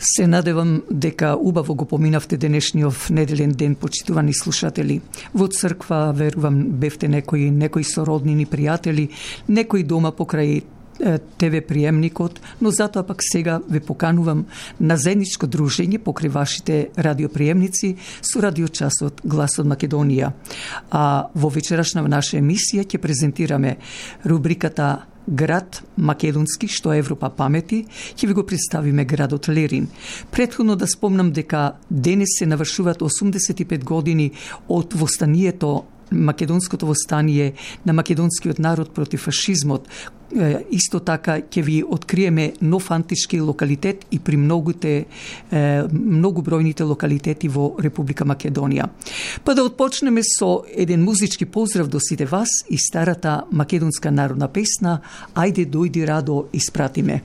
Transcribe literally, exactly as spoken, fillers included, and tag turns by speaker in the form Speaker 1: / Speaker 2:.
Speaker 1: Се надевам дека убаво го поминавте денешниот неделен ден, почитувани слушатели. Во црква, верувам, бевте некои, некои сороднини, пријатели, некои дома покрај те ве приемникот, но затоа пак сега ве поканувам на заедничко дружење покрај вашите радиоприемници со радиочасот Глас од Македонија. А во вечерашна наша емисија ќе презентираме рубриката Град македонски, што Европа памети, ќе ви го представиме градот Лерин. Претходно да спомнам дека денес се навршуваат осумдесет и пет години од востанието, македонското востание на македонскиот народ против фашизмот. Исто така ќе ви откриеме нов антички локалитет и при многуте, многу бројните локалитети во Република Македонија. Па да отпочнеме со еден музички поздрав до сите вас и старата македонска народна песна "Ајде дојди Радо" испратиме.